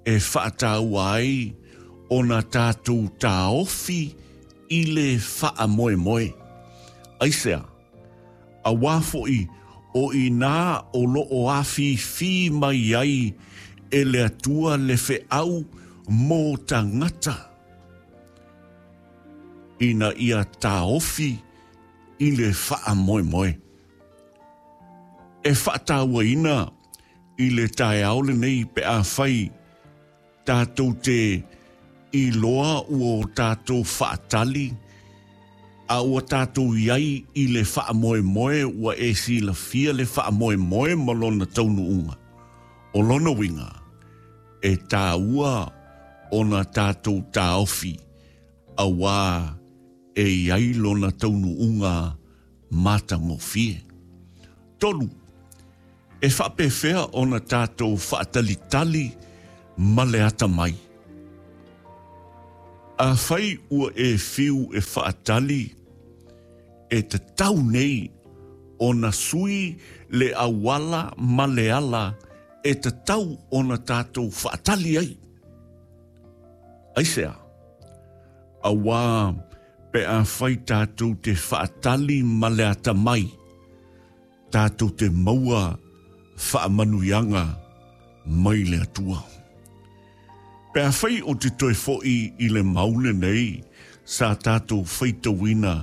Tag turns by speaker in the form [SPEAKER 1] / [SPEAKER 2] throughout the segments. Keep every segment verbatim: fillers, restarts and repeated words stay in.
[SPEAKER 1] e faataua ai ona tatou taofi i le faamoemoe. Aisea, auā foʻi o inā o loo afifi mai ai e le Atua le feau mo tagata ina ia taofi i le faamoemoe. E faatauaina i le taeao lenei pe afai tatou te iloa ua o tatou faatali a ua tatou iai i le faamoemoe ua e silafia le faamoemoe ma lona taunuuga. O lona uiga e taua ona tatou taofi auā e iai lona taunuuga matagofie. Tolu, e faapefea ona tatou faatalitali ma le atamai. Afai ua e fiu e faatali, e tatau nei ona sui le auala ma le ala e tatau ona tatou faatali ai. Aisea, auā pe afai tatou te faatali ma le atamai, tatou te maua faamanuiaga mai le Atua. Pe afai o te toe foʻi i le mau lenei sa tatou faitauina,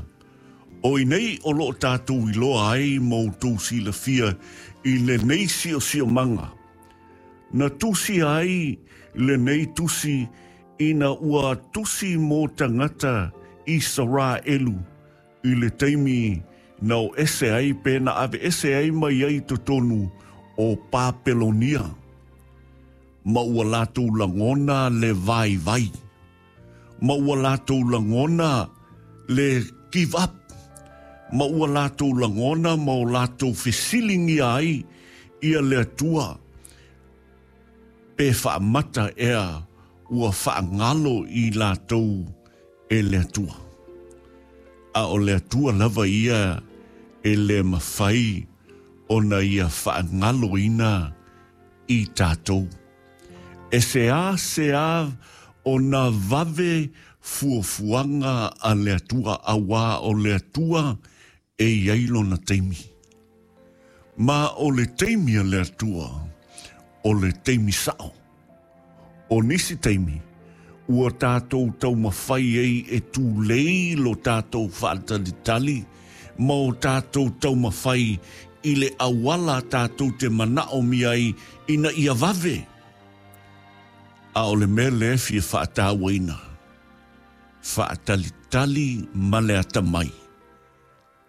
[SPEAKER 1] o i nei o loo tatou iloa ai ma outou silafia i lenei siosiomaga. Na tusi ai lenei tusi ina ua tusi mo tagata Isaraelu i le taimi na o ese ai pe na ave ese ai mai ai totonu o Papelonia. Ma ua latou lagona le vaivai. Ma ua latou lagona le give up. Ma ua latou lagona ma o latou fesiligia ai ia le Atua. Pe faamata ea ua faagalo i latou e le Atua. A o le Atua lava ia e le mafai ona ia faagaloina i tatou. E se a se a ona vave fuafuaga a le Atua auā o le Atua e iai lona taimi. Ma o le taimi a le Atua, o le taimi sao. O nisi taimi, ua tatou taumafai ai e tulei lo tatou faatalitali ma o tatou taumafai i le auala tatou te manaomia ai ina ia vave. A o le mea lea e fia faatauaina, faatalitali ma le atamai,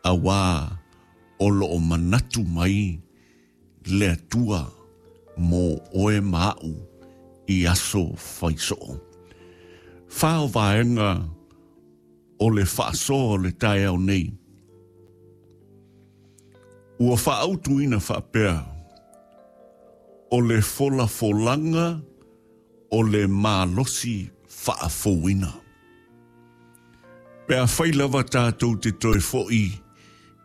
[SPEAKER 1] auā o loo manatu mai le Atua mo oe ma aʻu i aso faisoo. Fa o vaega o le faasoa o le taeao nei. Ua faaautuina faapea, o le folafolaga o le malosi faafouina. Pe afai lava tatou te toe foʻi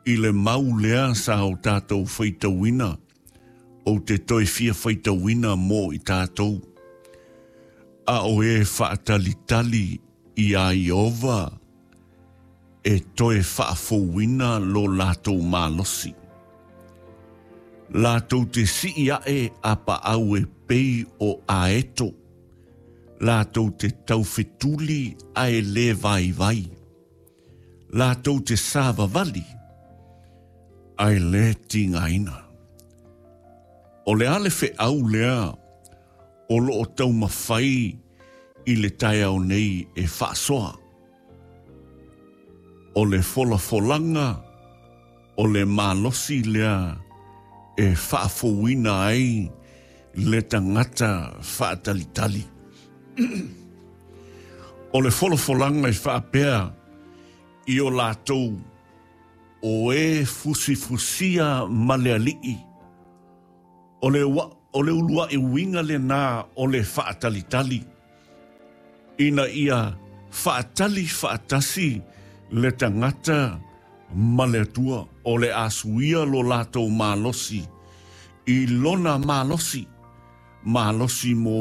[SPEAKER 1] i le mau lea sa o tatou faitauina, ou te toe fia faitauina mo i tatou. A o e faatalitali iā Ieova e toe faafouina lo latou malosi. Latou te sii ae apaau e pei o aeto. Latou te taufetuli ae le vaivai. Latou te savavali ae le tigaina. O le a le feau lea o loo taumafai i le taeao nei e faasoa. O le folafolaga o le malosi lea e faafouina ai le tagata faatalitali. O le folafolaga e faapea i o latou o e fusifusia ma le Alii. O le, ua, o le uluai uiga lenā o le faatalitali. Ina ia faatali faatasi le tagata ma le Atua o le a suia lo latou malosi i lona malosi, malosi mo